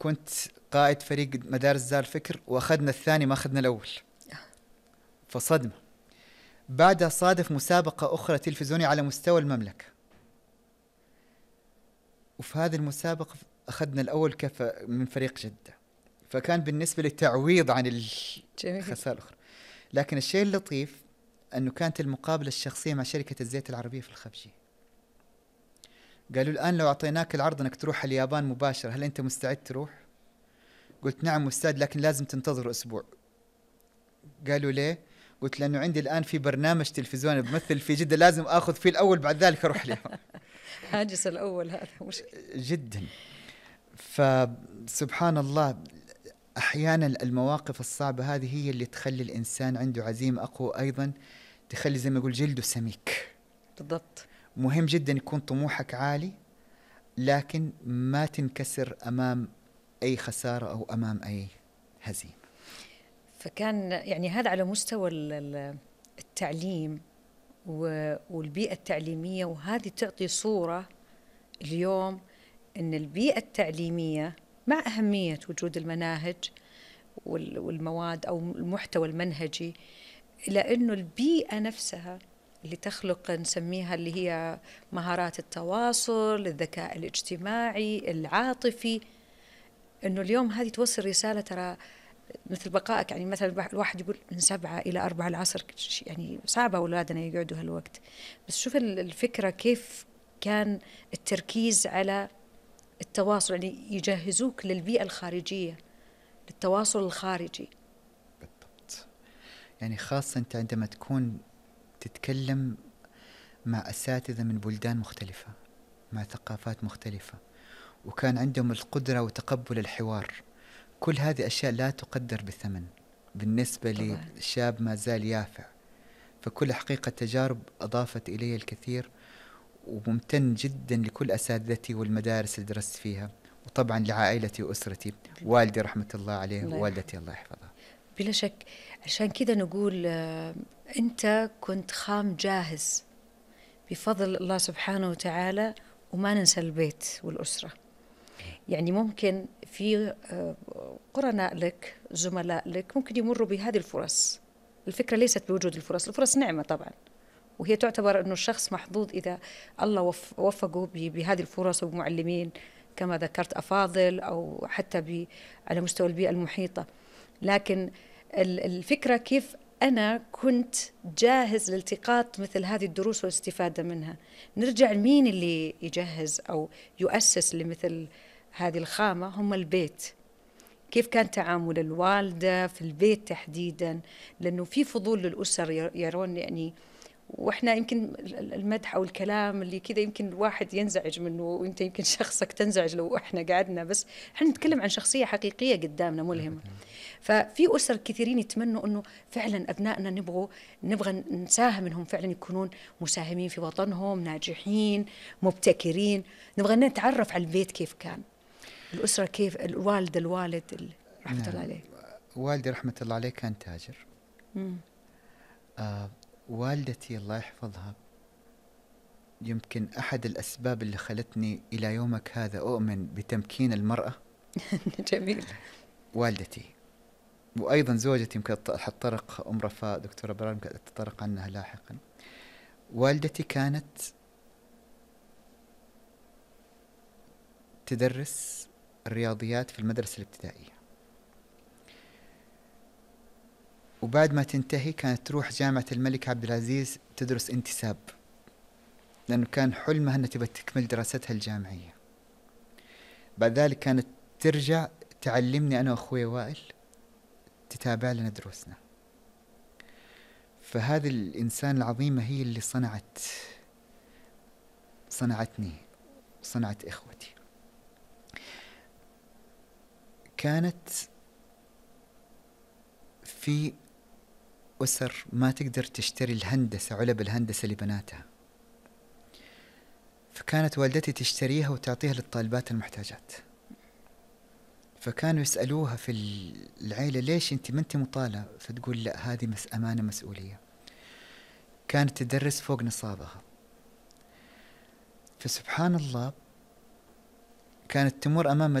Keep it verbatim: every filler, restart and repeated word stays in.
كنت قائد فريق مدارس دار الفكر، وأخذنا الثاني ما أخذنا الأول، فصدمة. بعدها صادف مسابقة أخرى تلفزيونية على مستوى المملكة، وفي هذه المسابقة أخذنا الأول كف من فريق جدة، فكان بالنسبة لي تعويض عن الخسارة الأخرى. لكن الشيء اللطيف أنه كانت المقابلة الشخصية مع شركة الزيت العربية في الخفجي. قالوا الآن لو أعطيناك العرض أنك تروح اليابان مباشرة، هل أنت مستعد تروح؟ قلت نعم مستعد، لكن لازم تنتظر أسبوع. قالوا ليه؟ قلت لأنه عندي الآن في برنامج تلفزيوني بمثل في جدة، لازم أخذ فيه الأول بعد ذلك أروح اليابان. هاجس الأول هذا مشكلة جدا. فسبحان الله، أحيانا المواقف الصعبة هذه هي اللي تخلي الإنسان عنده عزيمة أقوى، أيضا تخلي زي ما يقول جلده سميك. بالضبط. مهم جدا يكون طموحك عالي، لكن ما تنكسر أمام أي خسارة أو أمام أي هزيمة. فكان يعني هذا على مستوى التعليم والبيئة التعليمية، وهذه تعطي صورة اليوم أن البيئة التعليمية مع أهمية وجود المناهج والمواد أو المحتوى المنهجي، إلى أنه البيئة نفسها اللي تخلق نسميها اللي هي مهارات التواصل، الذكاء الاجتماعي، العاطفي، أنه اليوم هذه توصل رسالة ترى مثل بقائك. يعني مثلا الواحد يقول من سبعة إلى أربعة العصر، يعني صعب أولادنا يقعدوا هالوقت، بس شوف الفكرة كيف كان التركيز على التواصل، يعني يجهزوك للبيئة الخارجية، للتواصل الخارجي. بالضبط. يعني خاصة أنت عندما تكون تتكلم مع أساتذة من بلدان مختلفة، مع ثقافات مختلفة، وكان عندهم القدرة وتقبل الحوار، كل هذه أشياء لا تقدر بثمن بالنسبة طبعا. لشاب ما زال يافع. فكل حقيقة تجارب أضافت إلي الكثير، وممتن جدا لكل أساتذتي والمدارس اللي درست فيها، وطبعا لعائلتي وأسرتي، والدي رحمة الله عليه ووالدتي الله يحفظها. بلا شك. عشان كذا نقول آه أنت كنت خام جاهز بفضل الله سبحانه وتعالى، وما ننسى البيت والأسرة. يعني ممكن في آه قرناء لك، زملاء لك، ممكن يمروا بهذه الفرص. الفكرة ليست بوجود الفرص، الفرص نعمة طبعا، وهي تعتبر أنه الشخص محظوظ إذا الله وفقه بهذه الفرص، ومعلمين كما ذكرت أفاضل، أو حتى على مستوى البيئة المحيطة. لكن الفكرة كيف أنا كنت جاهز لالتقاط مثل هذه الدروس والاستفادة منها. نرجع لمين اللي يجهز أو يؤسس لمثل هذه الخامة؟ هم البيت. كيف كان تعامل الوالدة في البيت تحديدا؟ لأنه في فضول للأسر يرون، يعني وإحنا يمكن المدح أو الكلام اللي كذا يمكن الواحد ينزعج منه، وإنت يمكن شخصك تنزعج لو إحنا قعدنا، بس إحنا نتكلم عن شخصية حقيقية قدامنا ملهمة. ففي أسر كثيرين يتمنوا أنه فعلا أبنائنا نبغوا نبغى نساهم منهم فعلا يكونون مساهمين في وطنهم، ناجحين، مبتكرين. نبغى نتعرف على البيت كيف كان، الأسرة كيف، الوالد الوالد رحمة نعم. الله عليه. والدي رحمة الله عليه كان تاجر. آه والدتي الله يحفظها يمكن أحد الأسباب اللي خلتني إلى يومك هذا أؤمن بتمكين المرأة. جميل. والدتي، وأيضا زوجتي يمكن حتطرق أم رفاء دكتورة برار يمكن تطرق عنها لاحقا. والدتي كانت تدرس الرياضيات في المدرسة الابتدائية، وبعد ما تنتهي كانت تروح جامعة الملك عبد العزيز تدرس انتساب، لأنه كان حلمها أنها تبغى تكمل دراستها الجامعية. بعد ذلك كانت ترجع تعلمني أنا وأخوي وائل، تتابع لنا دروسنا. فهذه الإنسان العظيمة هي اللي صنعت صنعتني صنعت إخوتي. كانت في أسر ما تقدر تشتري الهندسة، علب الهندسة لبناتها، فكانت والدتي تشتريها وتعطيها للطالبات المحتاجات. فكانوا يسألوها في العيلة ليش أنت ما أنت مطالة؟ فتقول لا، هذه مس أمانة مسؤولية. كانت تدرس فوق نصابها. فسبحان الله كانت تمر أمام